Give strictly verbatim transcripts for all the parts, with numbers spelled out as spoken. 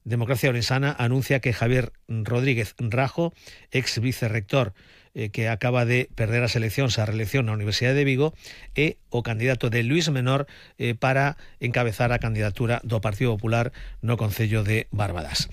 Democracia Orensana anuncia que Javier Rodríguez Rajo, ex vicerrector eh, que acaba de perder as eleccións á reelección na Universidade de Vigo, é o candidato de Luís Menor eh, para encabezar a candidatura do Partido Popular no Concello de Barbadas.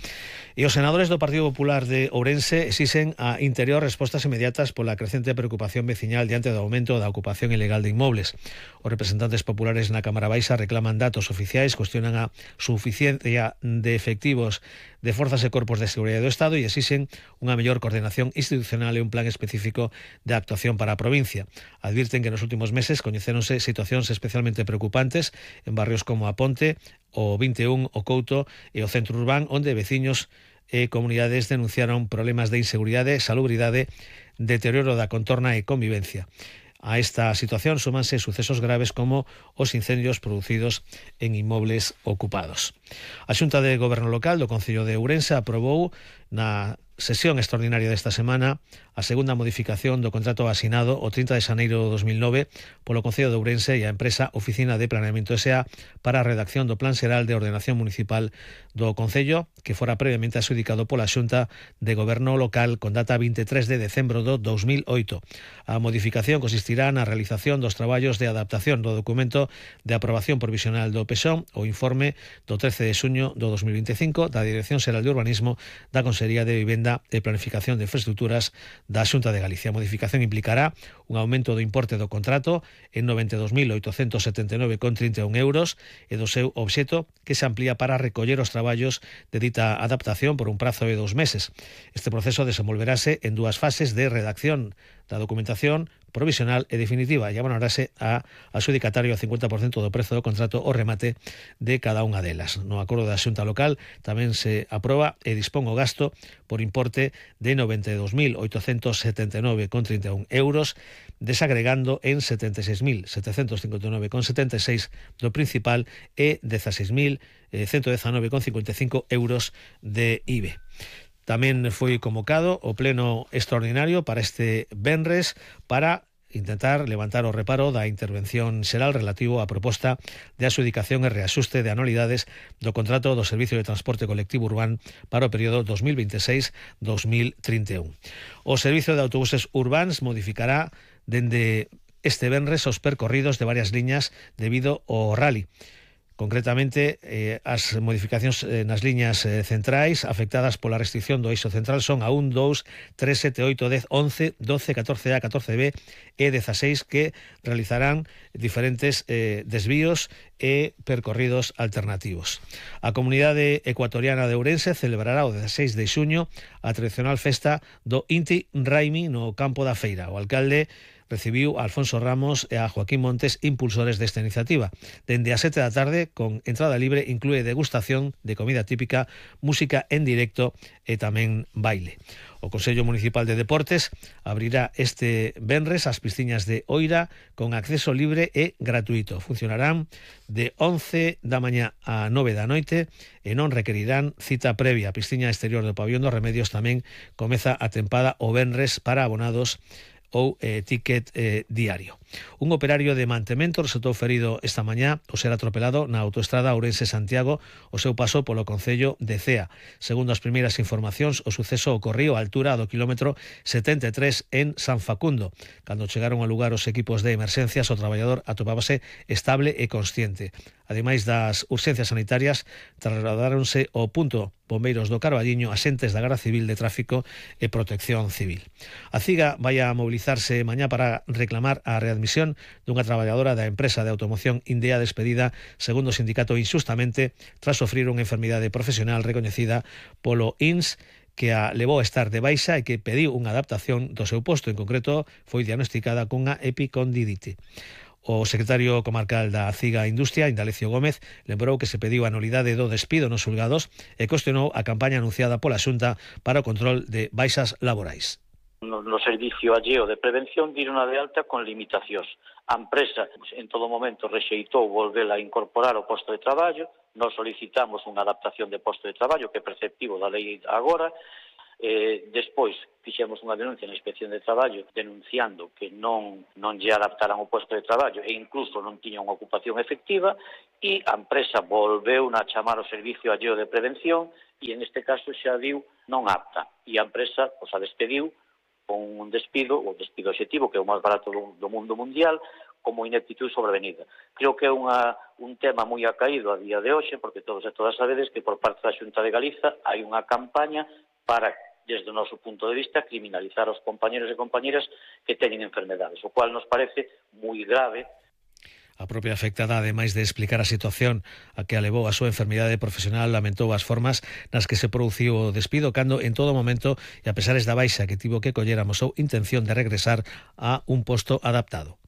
E os senadores do Partido Popular de Ourense exixen a Interior respostas inmediatas pola crecente preocupación veciñal diante do aumento da ocupación ilegal de inmobles. Os representantes populares na Cámara Baixa reclaman datos oficiais, cuestionan a suficiencia de efectivos de forzas e corpos de seguridade do Estado e exixen unha mellor coordinación institucional e un plan específico de actuación para a provincia. Advirten que nos últimos meses coñecéronse situacións especialmente preocupantes en barrios como a Ponte, o vinte e un, o Couto e o Centro Urbán, onde veciños e comunidades denunciaron problemas de inseguridade, salubridade, deterioro da contorna e convivencia. A esta situación súmanse sucesos graves como os incendios producidos en inmobles ocupados. A Xunta de Goberno Local do Concello de Ourense aprobou na sesión extraordinaria desta semana a segunda modificación do contrato asinado o trinta de xaneiro de dos mil nove polo Concello de Ourense e a empresa Oficina de Planeamento S A para a redacción do Plan Xeral de Ordenación Municipal do Concello, que fora previamente adxudicado pola Xunta de Goberno Local con data vinte e tres de decembro do dos mil oito. A modificación consistirá na realización dos traballos de adaptación do documento de aprobación provisional do P S O M, o informe do trece de xuño do dos mil vinte e cinco da Dirección Xeral de Urbanismo da Consellería de Vivenda e Planificación de Infraestructuras da Xunta de Galicia. A modificación implicará un aumento do importe do contrato en noventa e dos mil oitocentos setenta e nove con trinta e un euros e do seu obxeto, que se amplía para recoller os traballos de dita adaptación por un prazo de dous meses. Este proceso desenvolverase en dúas fases de redacción da documentación provisional e definitiva e abonarase a adxudicatario a cincuenta por cento do prezo do contrato o remate de cada unha delas. No acordo da Xunta Local tamén se aproba e dispón o gasto por importe de noventa e dos mil oitocentos setenta e nove con trinta e un euros, desagregando en setenta e seis mil setecentos cincuenta e nove con setenta e seis do principal e dezaseis mil ciento dezanove con cincuenta e cinco euros de I V A. Tamén foi convocado o pleno extraordinario para este venres para intentar levantar o reparo da intervención xeral relativo á proposta de adxudicación e reaxuste de anualidades do contrato do Servicio de Transporte Colectivo Urbán para o período dos mil vinte e seis a dos mil trinta e un. O Servicio de Autobuses Urbáns modificará dende este venres os percorridos de varias liñas debido ao rally. Concretamente, eh, as modificacións eh, nas liñas eh, centrais afectadas pola restricción do eixo central son a un, dous, tres, sete, oito, dez, once, doce, catorce A, catorce B e dezaseis, que realizarán diferentes eh, desvíos e percorridos alternativos. A comunidade ecuatoriana de Ourense celebrará o dezaseis de xuño a tradicional festa do Inti Raimi no campo da feira. O alcalde recibiu a Alfonso Ramos e a Joaquín Montes, impulsores desta iniciativa. Dende as sete da tarde, con entrada libre, inclúe degustación de comida típica, música en directo e tamén baile. O Consello Municipal de Deportes abrirá este venres as piscinas de Oira con acceso libre e gratuito. Funcionarán de once da mañá a nove da noite e non requerirán cita previa. A piscina exterior do Pabellón dos Remedios tamén comeza a tempada o venres para abonados ou eh, ticket eh, diario. Un operario de mantemento resultou ferido esta mañá ao ser atropelado na autoestrada Ourense-Santiago o seu paso polo concello de Cea. Segundo as primeiras informacións, o suceso ocorriu á altura do quilómetro setenta e tres en San Facundo. Cando chegaron ao lugar os equipos de emerxencias, o traballador atopábase estable e consciente. Ademais das urxencias sanitarias, trasladáronse ao punto bombeiros do Carballiño, axentes da Garda Civil de Tráfico e Protección Civil. A CIGA vai a mobilizarse mañá para reclamar a readmisión dunha traballadora da empresa de automoción Indea despedida, segundo o sindicato, injustamente tras sofrir unha enfermidade profesional recoñecida polo I N S que a levou a estar de baixa e que pediu unha adaptación do seu posto. En concreto, foi diagnosticada cunha epicondilite. O secretario comarcal da CIGA Industria, Indalecio Gómez, lembrou que se pediu a nulidade do despido nos xulgados e cuestionou a campaña anunciada pola Xunta para o control de baixas laborais. No, no servicio alleo de prevención diron a de alta con limitacións. A empresa en todo momento rexeitou volver a incorporar o posto de traballo. Nos solicitamos unha adaptación de posto de traballo que é preceptivo da lei agora. Eh, despois, fixemos unha denuncia na Inspección de Traballo denunciando que non, non lle adaptaran o posto de traballo e incluso non tiña unha ocupación efectiva, e a empresa volveu a chamar ao Servicio Alleo de Prevención e en este caso xa diu non apta, e a empresa pois, a despediu con un despido, o despido objetivo, que é o máis barato do, do mundo mundial, como ineptitud sobrevenida. Creo que é unha, un tema moi acaído a día de hoxe, porque todos e todas sabedes que por parte da Xunta de Galiza hai unha campaña para, desde o noso punto de vista, criminalizar aos compañeros e compañeras que teñen enfermedades, o cual nos parece moi grave. A propia afectada, ademais de explicar a situación a que a levou a súa enfermidade profesional, lamentou as formas nas que se produciu o despido, cando en todo momento, e a pesares da baixa que tivo que coller, amosou intención de regresar a un posto adaptado.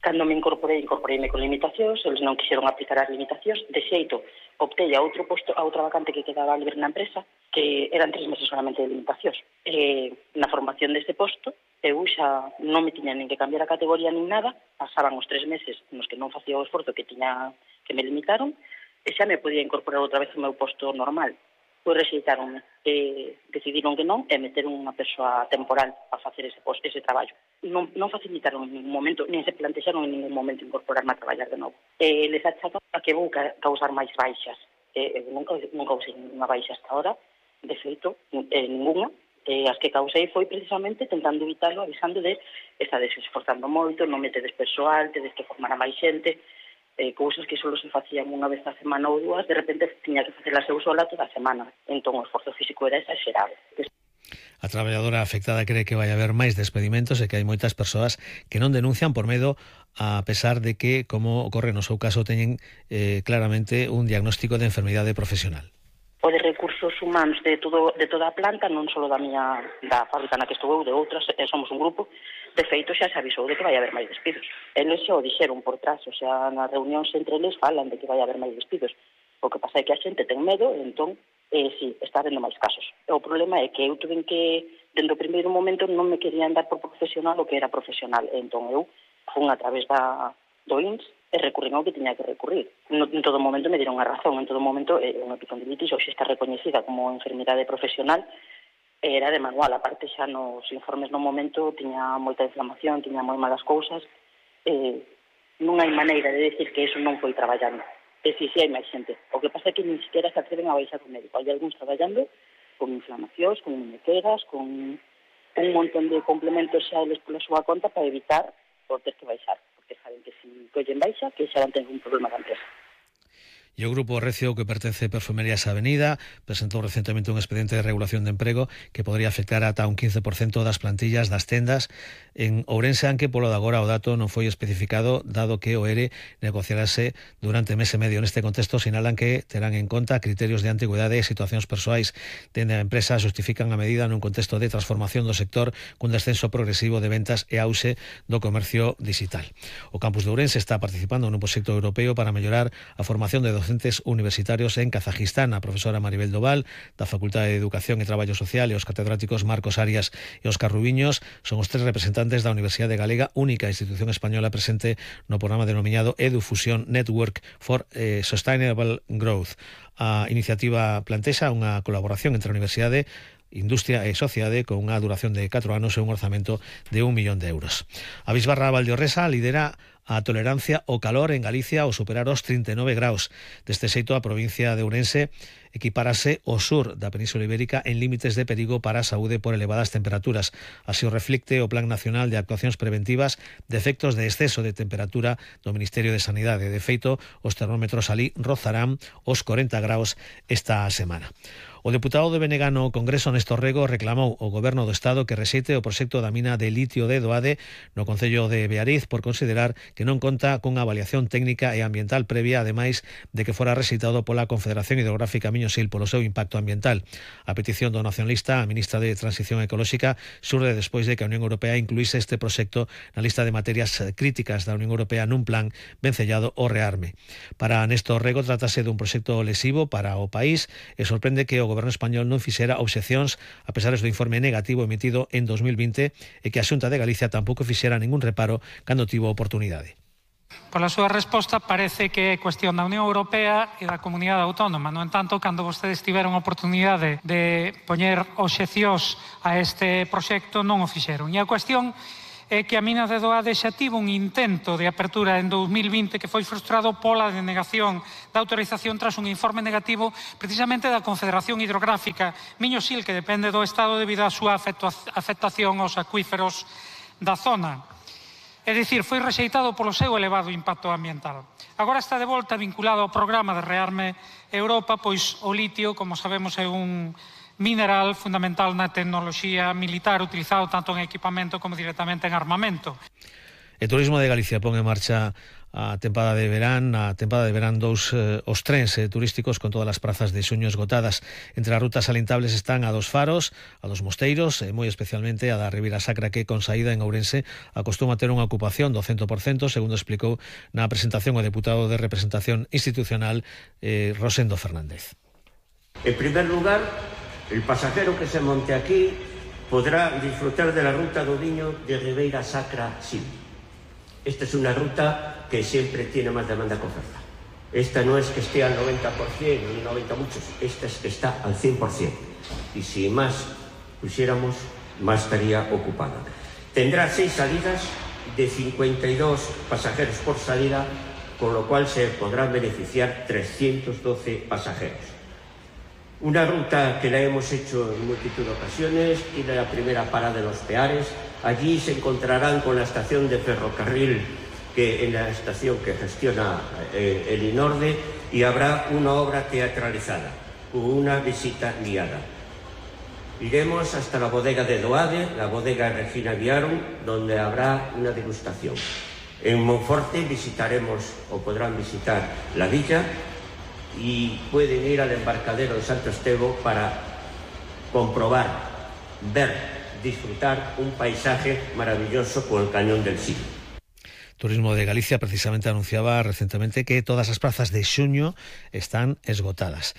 Cando me incorporei, incorporeime con limitacións, eles non quixeron aplicar as limitacións, de xeito, optei a outro posto, a outra vacante que quedaba libre na empresa, que eran tres meses solamente de limitacións. E, na formación deste posto, eu xa non me tiña nin que cambiar a categoría nin nada, pasaban os tres meses nos que non facía o esforzo que tiña que me limitaron, e xa me podía incorporar outra vez ao meu posto normal. Pois rexeitaronme, e decidiron que non, e meteron unha persoa temporal a facer ese posto, ese traballo. Non, non facilitaron en ningún momento, nin se plantexaron en ningún momento incorporarme a traballar de novo. E les achacan a que vou ca causar máis baixas. E, eu nunca, nunca usei ninguna baixa hasta ahora, de feito, eh, ninguna. E as que causei foi precisamente tentando evitarlo, avisando de estades esforzando moito, non metedes persoal, tedes que formar a máis xente, eh, cousas que só se facían unha vez a semana ou dúas, de repente tiña que facelas eu sola toda a semana. Entón o esforzo físico era exagerado. A traballadora afectada cree que vai haber máis despedimentos e que hai moitas persoas que non denuncian por medo, a pesar de que, como ocorre no seu caso, teñen eh, claramente un diagnóstico de enfermidade profesional. O de recursos humanos de todo de toda a planta, non só da miña da fábrica na que estou eu, de outras, eh, somos un grupo, de feito xa se avisou de que vai haber máis despidos. Eles xa o dixeron por trás, o sea, nas reunións entre eles falan de que vai haber máis despidos. O que pasa é que a xente ten medo, e entón, eh, sí, está habendo máis casos. O problema é que eu tuve que, dentro do primeiro momento, non me querían dar por profesional o que era profesional, e entón eu fun a través da do I N S e recurrín ao que tiña que recurrir. No, en todo momento me dieron a razón, en todo momento eh, unha epicondilitis hoxe está recoñecida como enfermidade profesional, era de manual, aparte xa nos informes no momento tiña moita inflamación, tiña moi malas cousas, eh, non hai maneira de decir que eso non foi traballando. E si, si hai máis xente. O que pasa é que nin siquiera se atreven a baixar o médico. Hai algúns traballando con inflamacións, con muñequeras, con un montón de complementos xa eles pola súa conta para evitar por ter que baixar. Que saben que si collen baixa, que xa van ter un problema da empresa. E o Grupo Recio, que pertence a Perfumerías Avenida, presentou recentemente un expediente de regulación de emprego que podría afectar ata un quince por cento das plantillas das tendas en Ourense, aunque polo de agora o dato non foi especificado, dado que o E R E negociarase durante mes e medio. Neste contexto sinalan que terán en conta criterios de antigüedade e situacións persoais. Dende a empresa justifican a medida nun contexto de transformación do sector cun descenso progresivo de ventas e auxe do comercio digital. O campus de Ourense está participando nun proxecto europeo para mellorar a formación de docentes universitarios en Kazajistán. A profesora Maribel Doval, da Facultade de Educación e Traballo Social, e os catedráticos Marcos Arias e Óscar Rubiños son os tres representantes da Universidade Galega, única institución española presente no programa denominado EduFusion Network for eh, Sustainable Growth. A iniciativa plantexa unha colaboración entre a Universidade, Industria e Sociedade con unha duración de catro anos e un orzamento de un millón de euros. A Bisbarra Valdeorresa lidera a tolerancia ao calor en Galicia ao superar os trinta e nove graus. Deste xeito, a provincia de Ourense equipárase ao sur da Península Ibérica en límites de perigo para a saúde por elevadas temperaturas. Así o reflicte o Plan Nacional de Actuacións Preventivas de efectos de exceso de temperatura do Ministerio de Sanidade. De feito, os termómetros alí rozarán os corenta graus esta semana. O deputado de B N G no Congreso, Néstor Rego, reclamou ao Goberno do Estado que rexeite o proxecto da mina de litio de Doade no concello de Beariz por considerar que non conta cunha avaliación técnica e ambiental previa, ademais de que fora rexeitado pola Confederación Hidrográfica Miñosil polo seu impacto ambiental. A petición do nacionalista, a ministra de Transición Ecolóxica, xurde despois de que a Unión Europea incluíse este proxecto na lista de materias críticas da Unión Europea nun plan vencellado ao rearme. Para Néstor Rego, tratase dun proxecto lesivo para o país e sorprende que o O Goberno español non fixera obxeccións a pesar do informe negativo emitido en dos mil vinte e que a Xunta de Galicia tampouco fixera ningún reparo cando tivo oportunidade. Pola súa resposta parece que é cuestión da Unión Europea e da Comunidade Autónoma. No entanto, cando vostedes tiveron a oportunidade de poñer obxeccións a este proxecto, non o fixeron. E a cuestión é que a mina de Doade xa tivo un intento de apertura en dous mil vinte que foi frustrado pola denegación da autorización tras un informe negativo precisamente da Confederación Hidrográfica Miño-Sil, que depende do Estado debido á súa afectación aos acuíferos da zona. É dicir, foi rexeitado polo seu elevado impacto ambiental. Agora está de volta vinculado ao programa de Rearme Europa, pois o litio, como sabemos, é un mineral fundamental na tecnoloxía militar utilizado tanto en equipamento como directamente en armamento. O Turismo de Galicia pon en marcha a tempada de verán, a tempada de verán dous eh, os trens eh, turísticos con todas as prazas de xuño esgotadas. Entre as rutas alintables están a dos Faros, a dos Mosteiros e moi especialmente a da Ribeira Sacra, que con saída en Ourense acostuma ter unha ocupación do cento por cento, segundo explicou na presentación o deputado de representación institucional eh, Rosendo Fernández. En primer lugar, el pasajero que se monte aquí podrá disfrutar de la ruta do Viño de Ribeira Sacra-Sil. Esta es una ruta que siempre tiene más demanda que oferta. Esta no es que esté al noventa por ciento ni noventa muchos, esta es que está al cien por ciento. Y si más pusiéramos, más estaría ocupada. Tendrá seis salidas de cincuenta y dos pasajeros por salida, con lo cual se podrán beneficiar trescientos doce pasajeros. Una ruta que la hemos hecho en multitud de ocasiones, tiene la primera parada de Los Peares. Allí se encontrarán con la estación de ferrocarril, que en la estación que gestiona eh, el INORDE, y habrá una obra teatralizada, una visita guiada. Iremos hasta la bodega de Doade, la bodega Regina Viarum, donde habrá una degustación. En Monforte visitaremos, o podrán visitar, la villa, y pueden ir al embarcadero de Santo Estevo para comprobar, ver, disfrutar un paisaje maravilloso con el Cañón del Sil. Turismo de Galicia precisamente anunciaba recientemente que todas as prazas de xuño están esgotadas.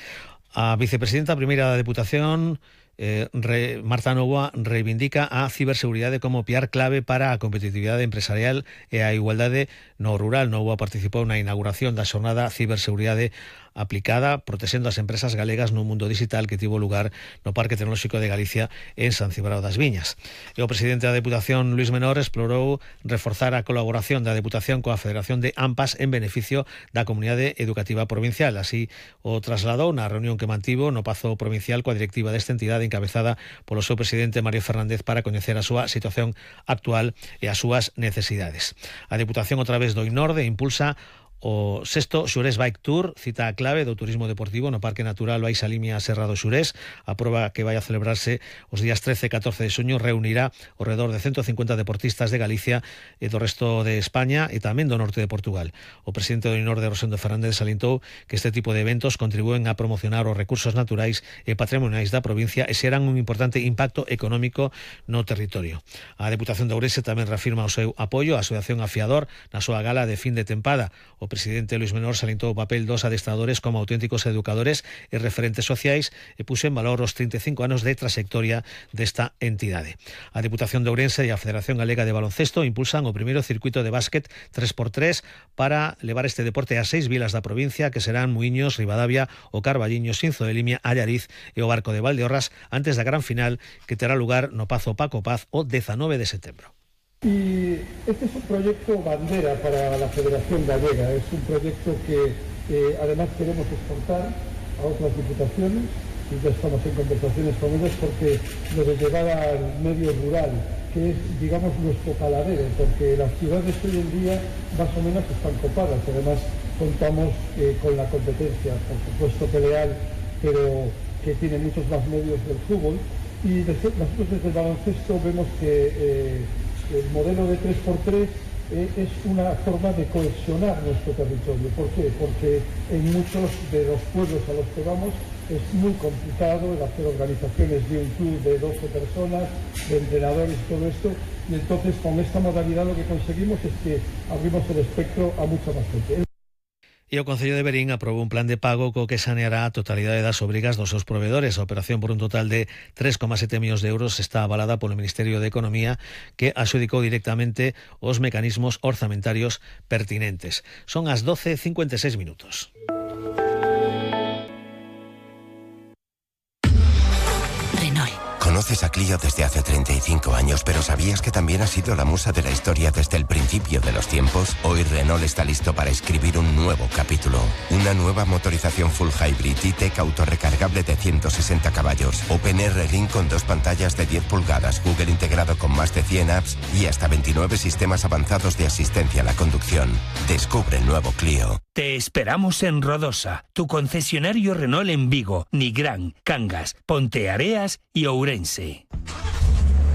A vicepresidenta primeira da Deputación, eh, re, Marta Novoa, reivindica a ciberseguridade como piar clave para a competitividade empresarial e a igualdade no rural. Novoa participou na inauguración da xornada Ciberseguridade aplicada, protexendo as empresas galegas no mundo digital, que tivo lugar no Parque Tecnolóxico de Galicia en San Cibrao das Viñas. E o presidente da Deputación, Luís Menor, explorou reforzar a colaboración da Deputación coa Federación de AMPAs en beneficio da comunidade educativa provincial. Así o trasladou na reunión que mantivo no Pazo Provincial coa directiva desta entidade encabezada polo seu presidente Mario Fernández para coñecer a súa situación actual e as súas necesidades. A Deputación, outra vez do INORDE, impulsa o sexto Xurés Bike Tour, cita a clave do turismo deportivo no Parque Natural Baixa Limia Serra do Xurés. A proba, que vai a celebrarse os días trece e catorce de xuño, reunirá ao redor de ciento cincuenta deportistas de Galicia e do resto de España e tamén do norte de Portugal. O presidente do INORDE, Rosendo Fernández, salientou que este tipo de eventos contribúen a promocionar os recursos naturais e patrimoniais da provincia e xeran un importante impacto económico no territorio. A Deputación de Ourense tamén reafirma o seu apoio á Asociación Afiador na súa gala de fin de tempada. O presidente Luís Menor salientou o papel dos adestradores como auténticos educadores e referentes sociais e puxo en valor os trinta e cinco anos de trayectoria desta entidade. A Deputación de Ourense e a Federación Galega de Baloncesto impulsan o primeiro circuito de básquet tres por tres para levar este deporte a seis vilas da provincia, que serán Muiños, Ribadavia, o Carballiño, Xinzo de Limia, Allariz e o Barco de Valdeorras, antes da gran final que terá lugar no Pazo Paco Paz o dezanove de setembro. Y este es un proyecto bandera para la Federación Gallega, es un proyecto que eh, además queremos exportar a otras diputaciones y ya estamos en conversaciones con ellos, porque lo de llevar al medio rural, que es, digamos, nuestro caladero, porque las ciudades hoy en día más o menos están copadas, además contamos eh, con la competencia, por supuesto que leal, pero que tiene muchos más medios del fútbol, y desde, nosotros desde el baloncesto vemos que eh, el modelo de tres por tres eh, es una forma de cohesionar nuestro territorio. ¿Por qué? Porque en muchos de los pueblos a los que vamos es muy complicado el hacer organizaciones de un club de doce personas, de entrenadores y todo esto, y entonces con esta modalidad lo que conseguimos es que abrimos el espectro a mucha más gente. E o Concello de Verín aprobou un plan de pago co que saneará a totalidade das obrigas dos seus provedores. A operación por un total de tres coma sete millóns de euros está avalada polo Ministerio de Economía, que adxudicou directamente os mecanismos orzamentarios pertinentes. Son as doce e cincuenta e seis minutos. Conoces a Clio desde hace treinta y cinco años, pero ¿sabías que también ha sido la musa de la historia desde el principio de los tiempos? Hoy Renault está listo para escribir un nuevo capítulo. Una nueva motorización full hybrid E-Tech autorrecargable de ciento sesenta caballos. OpenR Ring con dos pantallas de diez pulgadas, Google integrado con más de cien apps y hasta veintinueve sistemas avanzados de asistencia a la conducción. Descubre el nuevo Clio. Te esperamos en Rodosa, tu concesionario Renault en Vigo, Nigrán, Cangas, Ponteareas y Ourense.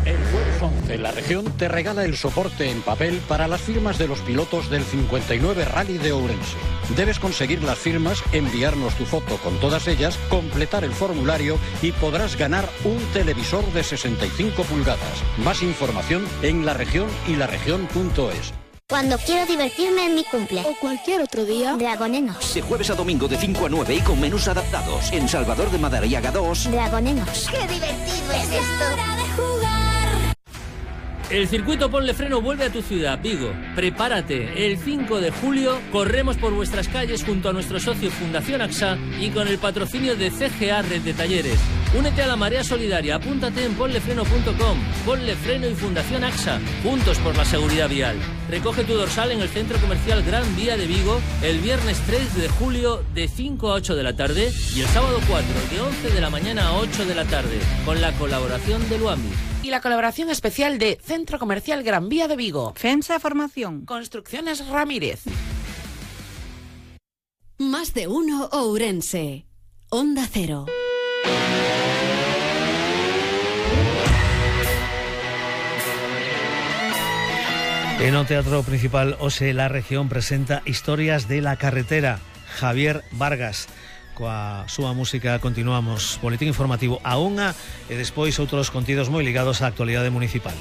El jueves once, la región te regala el soporte en papel para las firmas de los pilotos del cincuenta y nueve Rally de Ourense. Debes conseguir las firmas, enviarnos tu foto con todas ellas, completar el formulario y podrás ganar un televisor de sesenta y cinco pulgadas. Más información en la región y la región punto es. Cuando quiero divertirme en mi cumple. O cualquier otro día. Dragonenos. De jueves a domingo de cinco a nueve y con menús adaptados. En Salvador de Madariaga dos. Dragonenos. ¡Qué divertido es esto! ¡Hora de jugar! El circuito Ponle Freno vuelve a tu ciudad, Vigo. Prepárate. El cinco de julio corremos por vuestras calles junto a nuestro socio Fundación AXA y con el patrocinio de C G A Red de Talleres. Únete a la marea solidaria. Apúntate en ponlefreno punto com. Ponle Freno y Fundación AXA. Juntos por la seguridad vial. Recoge tu dorsal en el Centro Comercial Gran Vía de Vigo el viernes tres de julio de cinco a ocho de la tarde y el sábado cuatro de once de la mañana a ocho de la tarde con la colaboración de Luami. Y la colaboración especial de Centro Comercial Gran Vía de Vigo. FEMSA Formación. Construcciones Ramírez. Más de uno Ourense. Onda Cero. En o Teatro Principal hoxe la región presenta Historias de la Carretera. Javier Vargas. Coa súa música continuamos. Boletín informativo a unha e despois outros contidos moi ligados á actualidade municipal.